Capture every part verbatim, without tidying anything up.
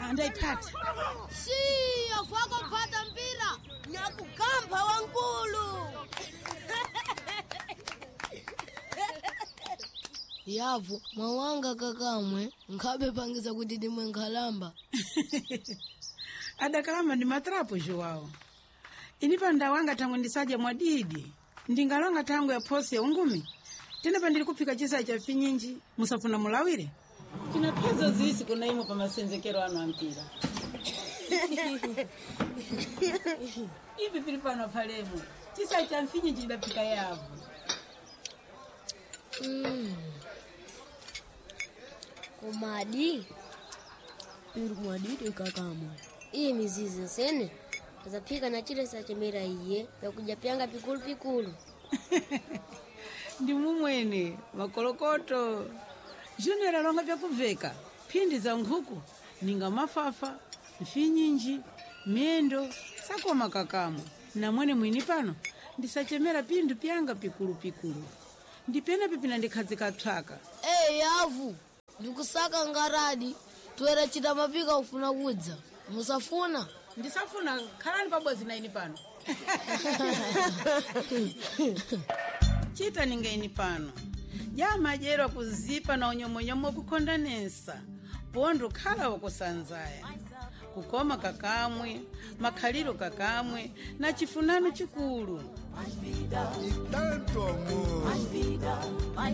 Andaipata. Shiyo fako mpata mpira nyakugamba wankulu. Yavu mwawanga kakamwe nkhabe pangisa kuti ndimwe nkhalamba. Adakalamba ndi matrapo Joao. Ini pa ndawanga tangwe ndisadya mwadidi. Ndingalonga tango ya phosi ya ungumi. Tena pandili kuphika chisa cha finyinji musafuna mulawire. Tina phezo zisi kuna imwe pa masenzekero anu ampira. Ivi pili pano palemo. Chisa cha mfinyinji chidaphika yavu. Mm. Komadi iri mwadidi kakamwe. Iyi mizizi nsene azaphika na chile sachemera iye yakuja pyanga pikulu pikulu. Ndi mumwene makolokoto. Junior alonga vyakuveka phindi za nkhuku ninga mafafa mfinyinji miyendo sakoma kakamwa namwene mwini pano ndisachemera pinthu pyanga pikulupikulu ndipena pipina ndikhazika psaka. Ee yavu ndikusaka ngaradi toera chita mapika ufuna kudza musafuna. Ndisafuna khalani pabodzi na ini pano. Chita ninga ini pano jamadyerwa kuzipa na unyomwenyomo kukhondanesa pondo khala wakusanzaya kukoma kakamwe makhaliro kakamwe na chifunano chikulu. E tanto amor.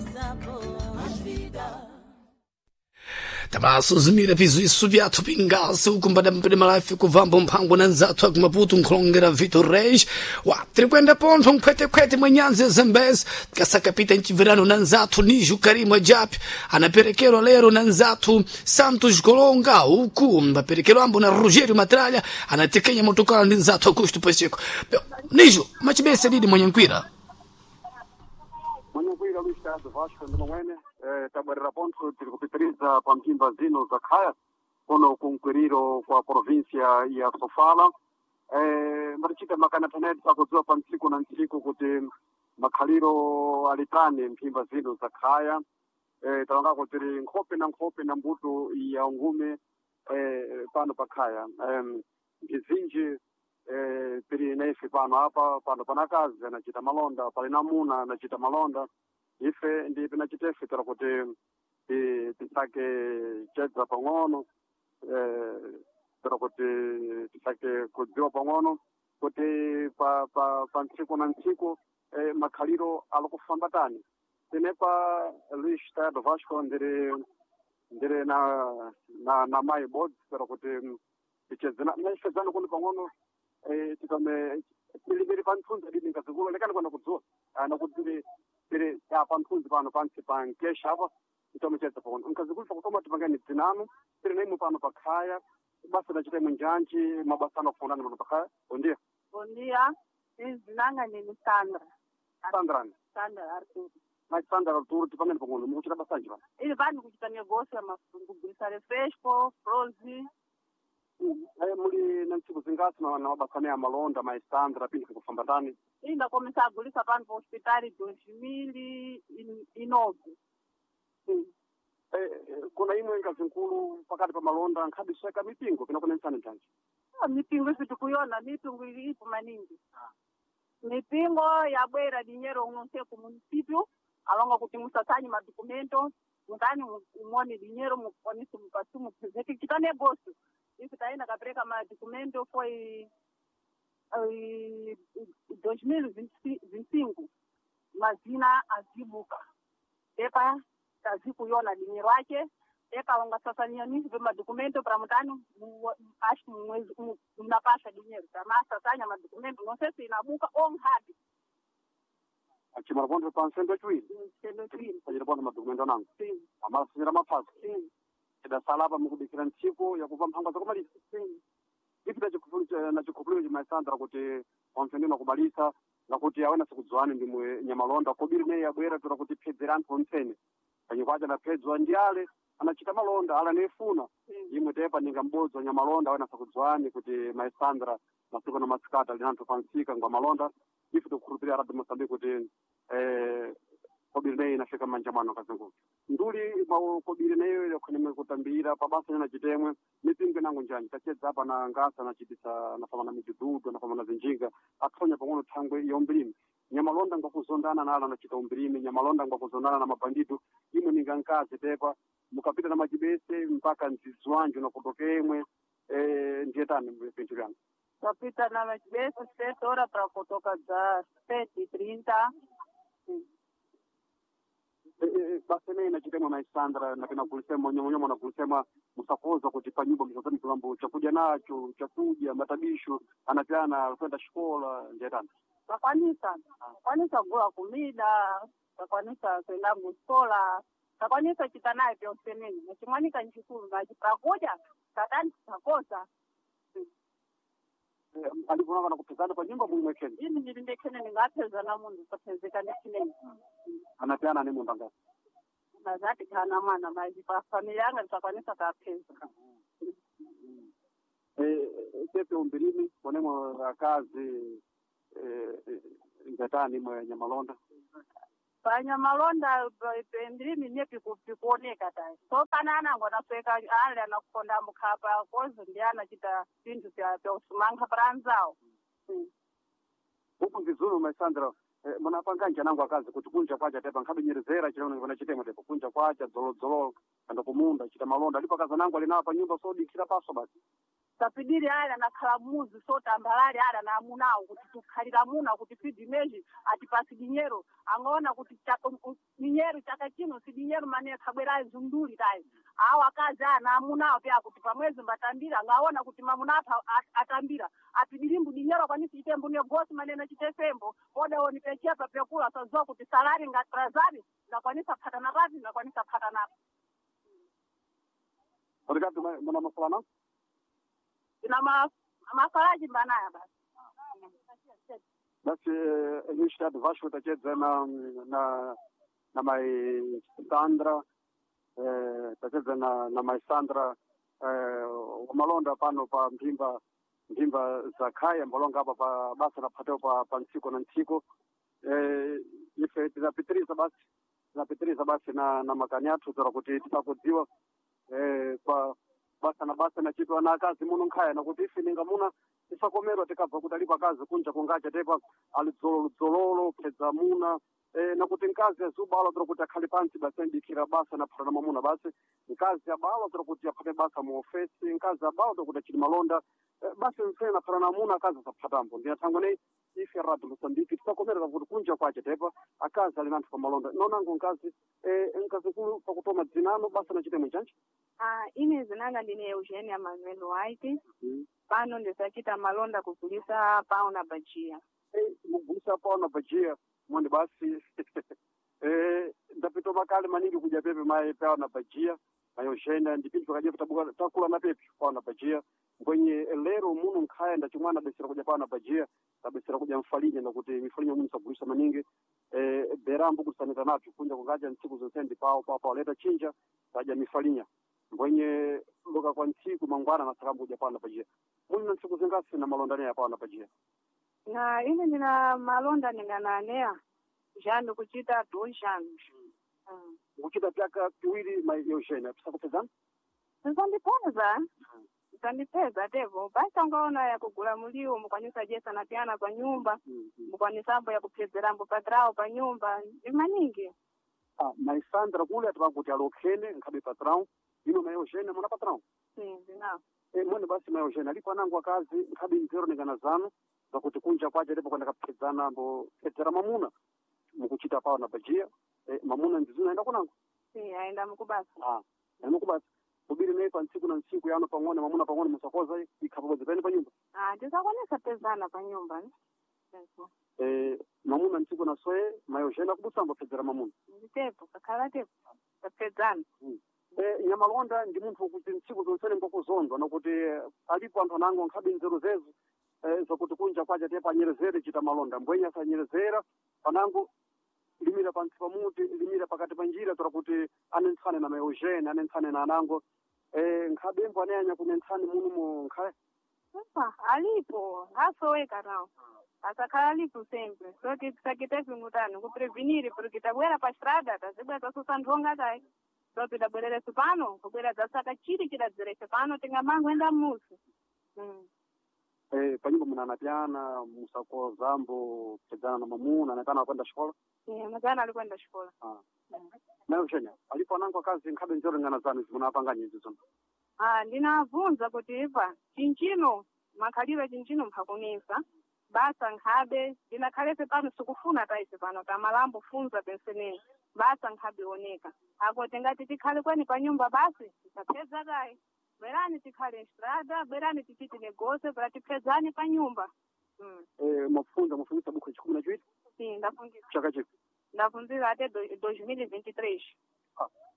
Tamasuzumira pizuisu vyathu pingasi ukumbada mpene malafi kuvamba mphango na nzathu akumaputu nkhulongera Vitor Reis wa tirikwenda pontho nkhwetekhwete mwa nyanzi ya Zambezi tikasakapita mchivirano na nzathu Niju Karimu Ajapi anaperekerwa lero na nzathu Santos Golonga uku mbaperekero ambo na Rogério Matralha anatekenya motokala ndi nzathu Augusto Pacheco. Niju machibese lidi mwenye nkwira. Mwenye Luís Tado Vasco ndi momwene eh, tabwerera pontho tiri kupitiriza pa mphimba zino za khaya kuno kunkwiriro kwa província ya Sofala. eh, mbatichita makana teneti takudziwa pa ntsiku na ntsiku kuti makhaliro alitani mphimba zino za khaya. eh, talongako tiri nkhope na nkhope na mbuto ya ungume eh, pano pa khaya. eh, mbizinji eh, tiri naife pano apa pano panakazi anachita malonda pali namuna anachita malonda ife ndi pinachitefe tera kuti ti- tisake chedza pang'ono eh, tera kuti tisake kudziwa pang'ono kuti pa pa pa ntsiku na ntsiku eh, makhaliro alikufamba tani. Tenepa Luis Tado Vasco ndiri ndiri na na na mai bodzi tera kuti tichedzana naifedzana kuno pang'ono eh, tikame tilibiri panthunzi adidi nkazikulu lekani kwenda kudzuwa nakuti tiri panthunzi pano pansi pa nkesha apa titomechedza pang'ono nkazikulu pakutoma tipangani dzinanu tiri naimwe pano pakhaya basa lachita imwe njanji mabasa anakufundani pano pakhaya. Bondia. Bom dia, izinanga nini Sandra. Sandrani. Sandra Arthur. Mai Sandra Arturo, tipangani pang'ono mukuchita basanji pano. Ili vanhu kuchita negócio ya kugulisa refresco, frozi. Eh, muli na ntsiku zingasi na na mabasa ane amalonda mai Sandra pinthu kufamba tani? Ili ndakomesa agulisa pano pa hospitali dois mil e nove. Eh, eh, kuna imwe ngazinkulu pakati pa malonda nkhadisweka mipingo pinakunensani njanji? Ah, mipingo isi tikuyona mipingo ili ipo maningi. Mipingo yabwera dinheiro unonse ku município alonga kuti musasanye madocumento mutani umone dinheiro mukwanise mupasi mupresente chita negócio. Isso taenda kapereka madocumento foi eh, dois mil e vinte e cinco mazina azibuka pepa tazikuyona dinheiro ake pepa wangasasanya nisso madocumento para mutani mu- acho que mwezi mu- mnapasha dinheiro tamasasanya madocumento não sei se inabuka ou nhabi. Achimala pontho pa nsendo yachiwiri. Sendo chini. Pachita pontho madokumento anango Sim, amalasanyira maphasa sim, tidasala apa mukudikira ntsiku yakupa mphangwa zakumalisa. sim. Ipi nachikhupuliro chimaisandra kuti wamfendeni wakubalisa ngakuti awena sikudziwani ndimwe nyamalonda kobiri neyi yabwera tora kuti phedzera anthu ontsene panyikwacha adaphedzwa ndi ale anachita malonda ale anayefuna imwe tepa ninga m'bodzi wa nyamalonda awena sakudziwani kuti maisandra masiku na masikati ali anthu pansika ngwa malonda. Ife tikukhulupirira Radio Mosambiki kuti eh, kobiri. neyi inafika manja mwano kazingulu nduli maukobile neyo ile kwenye kutambira pabasa na chitemwe mipingo nangu njanji tachedza apa na ngasa nachitisa nafama na midududu nafama na zinjinga athonya pang'ono thangwe yombilimi nyamalonda ngwakuzondana nalo anachita umbirimi nyamalonda ngwakuzondana na mabandido imwe ninga nkazi tepa mukapita na majibese mpaka nzizwanju nakutokemwe eh, ndiye tani pinthu lyangu Tapita na machibese sete hora para kutoka za sete e trinta. basi neyi nachitemwa maisandra napena kulisema nyomonyoma nakulisema musakoza kuti panyumba msazani kilambo chakudya nacho chakudya matabisho anapyana kwenda shikola ndiye tani Takwanisa, takwanisa kugula kumida, takwanisa kuenda kuskola, takwanisa chita naye pyonse nini. Nachimwanika nchikulu, nachipakudya, tatani takosa. Eh, aliponanga nakupezana panyumba mumwekeni Ini ndilindekene ningaphezana mundu tapezeka ndichinene. anapyana ni munda ngasi Nazati kana mwana maji pa familia yanga nitakwanisa kapheza. Eh, tepe umbirimi konemo akazi eh, eh, ngatani mwe nyamalonda Panyamalonda pendilimi nye pikuoneka tayi. So pana anango anasweka ale anakukonda mukhapa kozi ndi anachita pinthu pya pya usumankha para anzawo. Mm. huku mvizulu maisandra eh, munapanga njanango akazi kuti kunja kwacha tepa nkhabinyerezera chilongo chitemo tepa kunja kwacha dzolodzolo kanda kumunda chita malonda alipo akazi anango alinawo pa nyumba sodikira paso basi Tapidiri ale anakhala muzi sotambalale ale ana amunawo kuti tukhalira muna kuti sidimeji atipasi dinyero angaona kuti chaka- u- dinyero chaka chino sidinyero mane khabwera zunduli tayi awo akazi ana amunawo pya kuti pamwezi mbatambira angaona kuti mamuna apha a- atambira apidirimbu dinyero akwanisi chitembo negosi manene chitesembo odaoni pechepa pekula sazowa kuti salari ngatrazari ndakwanisa phatana papi ndakwanisa phatana pa olikati muna masalana ina ma mafalaji mbanaya basi basi eh, initiative vasho tachedza na na na mai Sandra eh, tachedza na na mai Sandra eh, wamalonda pano pa mphimba mphimba za khaya mbalonga apa pa basa naphateo pa pa ntsiko na ntsiko eh, ife tinapitiriza basi tinapitiriza basi na na makani athu zora kuti tisakudziwa eh, pa basa na basa nachitwa na akazi muno nkhaya nakuti ife ninga muna tisakomerwa tikabva kuti alipo akazi kunja kungacha tepa alidzololo phedza muna eh, nakuti mkazi azubala tora kuti akhale pansi basi andikira basa naphata na mamuna basi mkazi abala tora kuti aphate basa mu ofesi mkazi abala tora kuti achiti malonda eh, basi mfene naphata na muna akazi asaphatambo ndinathangwa nei ife radio Mozambique tisakomerera kuti kunja kwache tepa akazi ali nanthu pa malonda nonango mkazi eh, mkazi kulu pakutoma dzinano basa nachitemo chanji Ah, ine zinanga ndine Eugenia Manuel White mm. pano ndisachita malonda kugulisa pao na bajia Eh, mugulisa pao na bajia mwene basi eh, ndapita makale maningi kuja pepe maye pao na bajia mayoshenda ndipinji pakaje tabuka takula na pepe pao na bajia kwenye lero muno nkhaya ndachimwana besera kuja pao na bajia tabesera kuja mfalinya nakuti mifalinya muno sagulisa maningi eh, berambo kusanita nacho kunja kungaja ntsiku zonse ndi pao pao pao leta chinja taja mifalinya mbwenye loka kwa ntsiku mangwana nasakambo kuja pao na bajia muli na ntsiku zingasi na malondani ya pao na bajia na ine ndina malonda ningananea janu kuchita dois anos mm. ukuchita pyaka piwiri ma Eugenia tisakupezana Zisandipeza zisandipeza tevo basi angaona ya kugula muliwo mukwanisa jesa na pyana pa nyumba mukwanisambo ya kuphezerambo patrao pa nyumba ndi maningi ah, maisandra kule atipakuti alokhene nkhabe patrão ino ma Eugenia muna patrão sim ndinawo e, mwene basi ma Eugenia alipo anango akazi nkhabe nzero ningana zanu zakuti kunja kwache ndipo kwenda kaphedzana mbo phedzera mamuna mukuchita pawo na bajia e, mamuna ndizuna aenda kunango sim aenda mukubasa ah, anokubasa kubiri naye pa ntsiku na ntsiku yano pang'ono mamuna pang'ono musakoza ikhapabodzi pene pa nyumba ah tisakwanisa pezana pa nyumba ne Tepo. e, mamuna ntsiku na soye ma Eugenia kubusamba phedzera mamuna nditepo kakhala tepo tapedzana e, nyamalonda ndi munthu wokuti ntsiku zonsene ngwakuzondwa nakuti eh, alipo anthu anango nkhabe nzeru zezo eh, zakuti kunja kwacha tepa anyerezere chita malonda mbwenye asanyerezera panango limira pantsi pamuti limira pakati pa njira tora kuti anentsane na maEugene anentsane na anango eh, nkhabe mbo anayanya kunentsani muno mu nkhaya Epa, alipo ngasoweka nawo Asakhala lipo sempre. Só que tisakite vingutano kuprevenir porque tabwera pa estrada tazibwera tasusa nthonga tayi. Só que tabwerere pano kubwera zasaka chiri chidadzerese pano tingamangoenda musi. Mm. Eh, panyumba munanapyana musakozambo kupedzana na mamuna anapyana wakwenda xikola Yeah, mazana ali kwenda xikola. Ah. Nayo Eugenia alipo anango akazi nkhabe nzolingana zanu zimunapanga nyinzi zono Ah, ndinavunza kuti ipa chinchino makhaliro chinchino mphakunisa basa nkhabe ndinakhalefe pano sikufuna taise pano tamalambo funza penseneni basa nkhabe oneka ako tingati tikhale kweni pa nyumba basi tisapeza tayi bwerani tikhale estrada bwerani tichiti negose pera tiphezani pa nyumba mm. eh, mwafunza mwafungisa bukhu chikumi na chiwiri Sim, ndafundisa chaka chipi ndafunzira até do- dois mil e vinte e três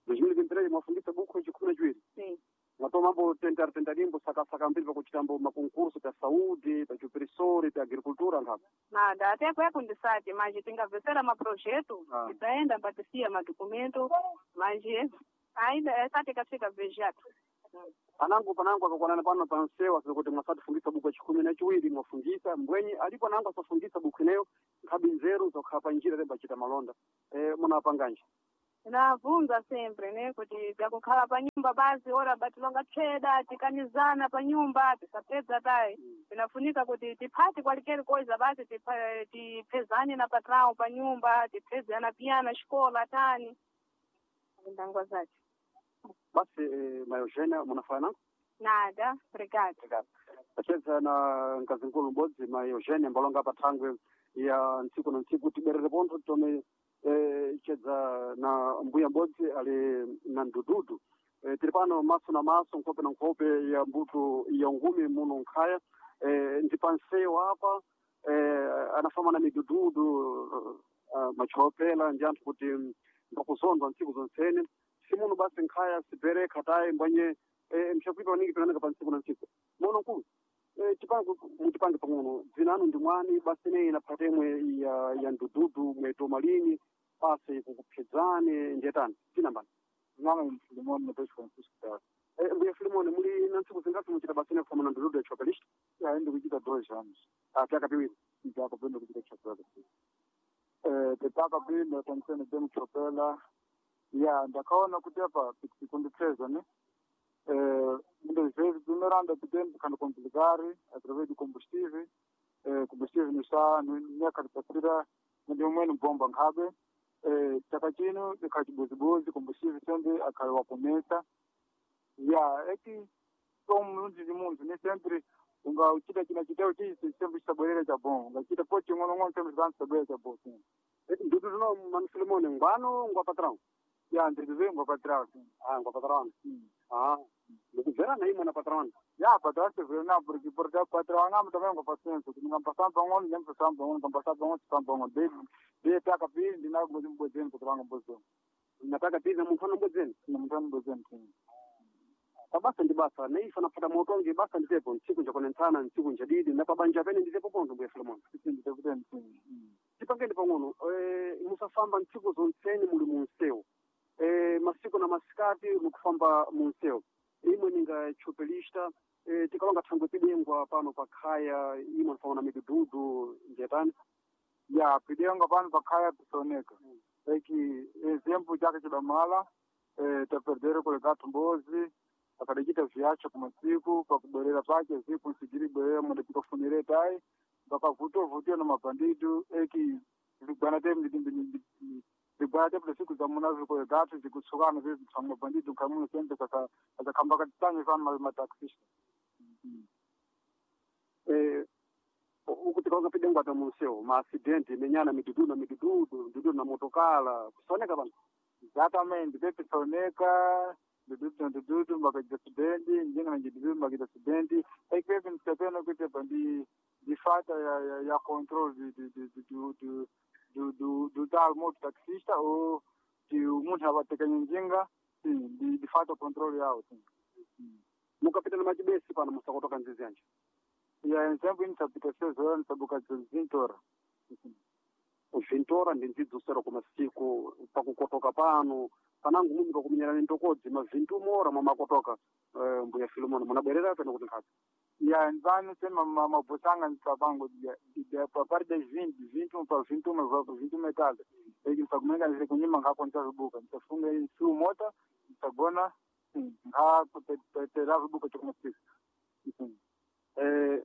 dois mil e vinte e três mwafungisa bukhu chikumi na chiwiri Sim. mwatomambo tentar tentarimbo sakasaka mbiri pakuchitambo makonkurso ta saúde ta chuperisori ta agricultura nkhabe Nada, até kweko ndisati mas tingavesera maprojeto Ah. titaenda mpatisia madokumento mas ainda esati kafika vejato anangu panangu akakwanana pano pansewa kuti mwasatifungisa buku chikumi na chiwiri mwafungisa mbwenyi alipo anangu asafungisa buku ineyo nkhabi nzeru zokhala pa njira temba achita malonda eh, munapanganje Navunza sempre ne kuti byakukhala pa nyumba basi ora batilonga tcheda tikanizana pa nyumba tisapedza tayi tinafunika kuti tiphati kwalikeri koiza basi tipha- tiphezane na patrão pa nyumba tiphezana piyana xikola tani ndangwa zace basi eh, mayogena munafana nangu nada obrigado tacheza na mkazinkulu m'bodzi ma Eugenia mbalonga pa thangwe ya ntsiku na ntsiku tiberere pontho tome eh, chedza na mbuya m'bodzi ali na ndududu eh, tili pano maso na maso nkhope na nkhope ya mbuto ya ngumi muno nkhaya eh, ndi pansewu apa eh, anafama na midududu uh, machopela ndi anthu kuti mbakuzondwa ntsiku zonsene simuno basi nkhaya sibereka tayi mbwenye eh, mshakuipa maningi pinaoneka pa ntsiku na ntsiku mono nkulu eh, tipange mutipange pang'ono dzina anu ndi mwani basi ineyi inaphata imwe ya, ya ndududu mwetoma lini basi kukuphedzani ndiyetani tinambani Nome Filimone Mateus Francisco Taro. eh, mbuya Filimone muli na ntsiku zingati muchita basi ine kufama na ndududu ya chopelista Ya ainda kuchita dois anos. ah, pyaka piwiri Já que kuchita chopela. Eh, tetaka pili acontecendo dentro chopela. Ya ndakaona kuti apa kundipfeza ne. Eh, muitas vezes primeiro anda tempo quando complicar através do combustível. Eh, combustível não está no cartapira, mas de um bomba nkabe. Eh, chaka chino ikachibuzibuzi combustível sempre akaiwa kumesa. Ya, é que como munthu ndi munthu ne sempre ungachita china chiteo chichi sempre chitabwerera cha bom ungachita po ching'onong'ono sempre chitabwerera cha bom sim eh, ndududu no manu Filimone ngwano ngwa patrão ya ndirizengo patrão sim ah, ngwa patrão ah, ndikubverana imwe na patrão ya patrão severa porque porque patrão anga também ngwa paciência kuti ngampasamba pang'ono ndempasamba pang'ono ngampasamba pang'ono samba pang'ono de de taka pili ndina ngozi mbozeni patrão anga mbozeni nataka tiza munthu anambodzeni na munthu anambozeni sim pabasa ndi basa neifa napata motongi basa nditepo ntsiku njakonentsana ntsiku njadidi na pabanja pene nditepo pontho mbuya Filimone nditeputeni sim tipangeni pang'ono eh, musafamba ntsiku zonseni muli munsewu eh, masiku na masikati mukufamba munsewu imwe ninga chopelista eh, tikalonga thangwe pidengwa pano pakhaya imwe nifama na midududu njetani ya pidenga pano pakhaya pisoneka like exemplo chake chidamala eh, taperdere kulega tumbozi akadachita viacho kumasiku pakubwerera pake ziku nsigiri bwerera munde tikafunire tai vakavutovutiwa na mabandidu eki vigwana te vigwana te siku za muna vikolegatu zikutsukana zizipsa mabandidu kamuno sembe saka azakhamba katitanye fana mataxista eh, uku tikalonga pidengwa ta munsewu maasidenti menyana midudu na midududu midudu na motokala kusoneka pano Exatamente, pepisoneka ndududu na ndududu mbakaita acidente njenga na ndududu mbakaita acidente aí que pepe nitapena kuti apa ndi ndi falta ya ya, ya controle de de de do do do do do tal moto taxista ou de o munthu apatekanya njinga sim ndi ndi falta controle yawo sim mukapita na machibesi pano musakotoka nzizi yanje ya exemplo ini seis horas nisabuka vinte horas vintora ndi ndzidzusero kumasiku pakukotoka pano panangu mumi pakumenyerana ntokodzi mavintu mora mwamakotoka eh, mbuya Filimone munabwerera peno kuti nkhazi Ya nzani sema mabusanga nitsabango ya a partir das vinte, vinte e um para vinte e um, para vinte e um metade. Eki nitsakumenga nise kunyima ngakho nitsavibuka. Nitsafunga isu mota, nitsagona ngakho tetera vibuka chokumafika. Eh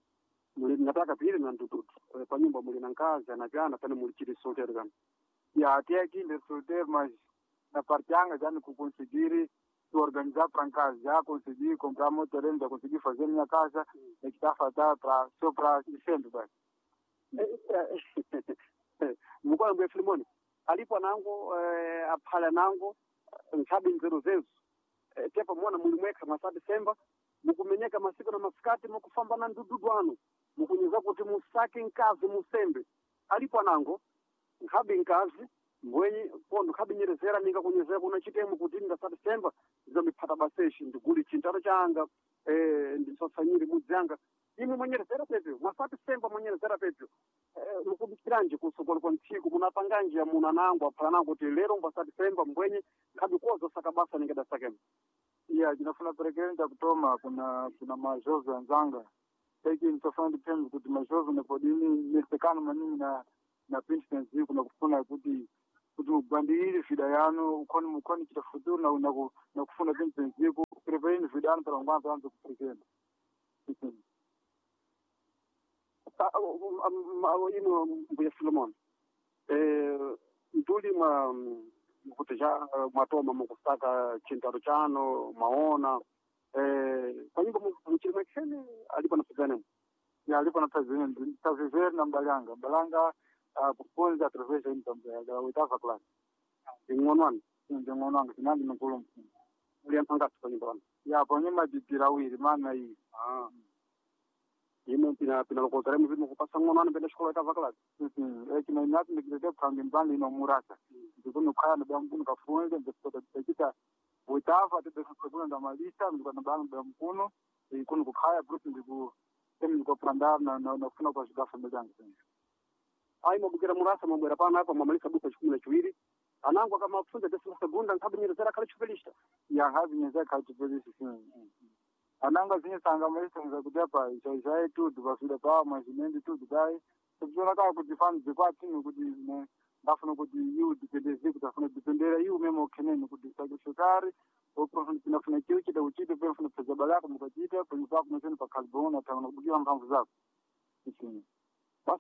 muli nataka pili na ndududu pa nyumba muli na nkazi anapyana pane muli chili solteiro kama. Ya até aqui ndi solteiro, mas na parte yanga já não conseguir se organizar para casa, já consegui comprar meu terreno, já consegui fazer minha casa, é que está a faltar para só para sempre, vai. Mukwana mbuya Filimoni alipo anango eh, aphala nango nkhabe nzeru zezo eh, tepa muona muli mwekha mwasa Disemba mukumenyeka masiku na masikati mukufamba na ndududu anu mukunyeza kuti musake nkazi musembe alipo anango nkhabe nkazi mbwenyi pondo nkhabe nyerezera ninga kunyezera kuna chitemo kuti ndasa Disemba ndizamiphata baseshi ndiguli chintaro changa eh, ndisasanyire mudzi anga imwe mwanyerezera pepyo mwasa Disemba mwanyerezera pepyo eh, mukubikiranje kusokolo kwa ntsiku munapanganje ya muna nango aphala nango kuti lero mbasa Disemba mbwenye nkhabe koza saka basa ningadasakemo. Ya ndinafuna perekereni kutoma kuna kuna majove anzanga eki nitofuna ndipembe kuti majove nepodini nesekano maningi na na pintenzi kuna kufuna kuti kuti mugwandirire vida yanu ukhoni mukhoni chita futuro na na ku- na kufuna pintenzi ku preparini vida yanu para ngwanza anze kuperekeni. Ino mbuya Filimoni eh, nduli mwa kuti ja mwatoma mukusaka chintaro chano mwaona eh, panyumba muchili mwakhene alipo napezanemo. Ya alipo na president taviveri na mbalanga mbalanga uh, kufunza através da oitava classe ing'ono anu nding'ono anga sinandi nkulu mfunza muli anthu angati panyumba pano? ya panyuma didirawiri mana iyi. Ah. Imo pina pinalokoza lemu vimo kupasa ng'ono anu penda xikola itava classe. Eki na inati ndikilete phambi mbali ino murasa ndikunukhaya ndabamkunu kafunze ndikuta oitava tebesekuno ndamalisa ndikwanabanga ndabamkunu ikunu kukhaya brusi ndiku temi ndikopanda na na nakufuna kwa shigafa mbelanga. Ayi mwabukira murasa mwabwera pano apa mwamalisa buka chikumi na chiwiri anango akamafunza desima segunda nkhabe nyerezera khale chipelista. Ya havi nyeza khachipelisi ananga zinye sanga malisa kuti apa zvaizvai tudu pafida pa mazimendi tudu dai tikuona kaa kuti fani dzikwatini kuti ne ndafuna kuti iu dipendeze kuti afuna dipendera iu memo kheneni kuti sakrifitari pinafuna chiu chita uchite penafuna pfeza balako mukachita penye pako meseni pakhalibona tangana kubukira mphamvu zako.